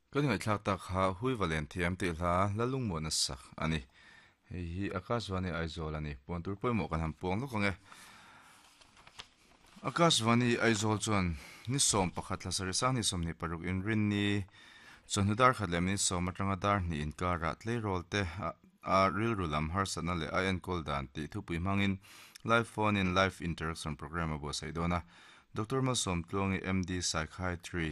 Kan ngaihthlak tak kha Huivalen thiam tih hla Lalungmuana sak a ni. Hei hi Akashvani Aizawl a ni. Puan tur pawimawh kan han puang lawk ang e. Akashvani Aizawl chuan ni 11 thla sarih sang ni 26 inrinni chawhnu dar khat leh minute sawm atanga dar hnih inkarah tleirawl te a rilru lam harsatna leh a enkawl dan tih thupui hmangin live phone in live interaction program a buatsaih dawn a. Doctor Malsawmtluangi MD Psychiatry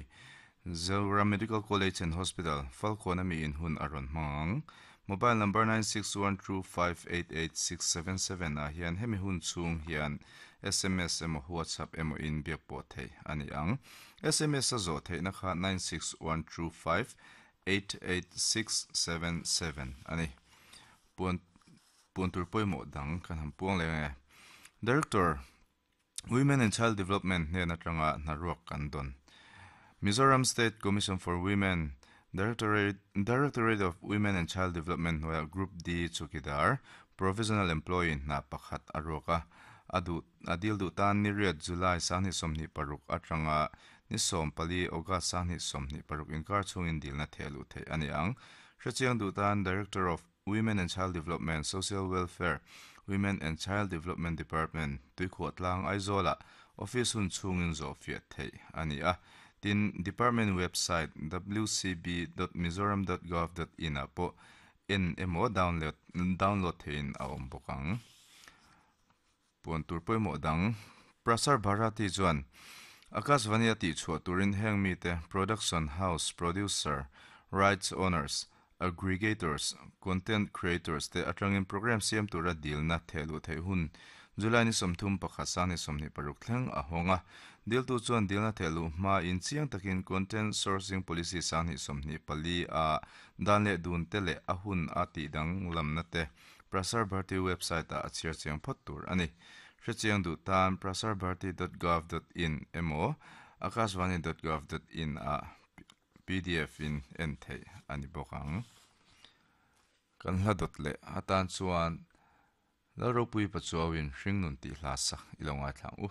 Zoram Medical College and Hospital, Falkawn ami in hun a rawn hmang ang. Mobile number 9612588677 ah hian hemi hun chhung hian sms emaw WhatsApp emaw in biak pawh theih a ni ang. Sms a zawh theihna kha 9612588677 a ni. Puan puan tur pawimawh dang kan han puang leh ang e. Director. Women and Child Development hnen atanga hnaruak kan dawn. Mizoram State Commission for Women, Directorate, Directorate of Women and Child Development hnuaiah Group D chukidar, Provisional Employee hna pakhat a ruak a, a duh, a dil duh tan ni riat July 2026 atanga ni 14 August 2026 inkar chhungin dilna theh luh theih a ni ang. Hrechiang duh tan Director of Women and Child Development, Social Welfare, Women and Child Development Department, Tuikhuahtlang, Aizawlah office hun chhungin zawh fiah theih a ni a. Tin, Department website wcb dot mizoram dot gov dot in ah pawh en emaw download download theihin a awm bawk ang. Puan tur pawimawh dang Prasar Bharati chuan Akashvani a tihchhuah turin heng mite production house, producer, rights owners, aggregators, content creators te atangin program siam tura dilna thehluh theih hun July ni 31 sang ni 26 thleng a hawng a. Diltu chuan dilna thehluh hmain chiang takin content sourcing policy sang ni 24 a dan leh dun te leh a hun a tihdang lamna te Prasar Bharati website ah a chhiar chiang phawt tur a ni. Hrechiang duh tan prasarbharati.gov.in emaw akashvani.gov.in ah pdf in en theih a ni bawk ang. Kan hla dawt leh atan chuan Lalropui Pachuauin Hringnun tih hla sak i lo ngaithla ang u.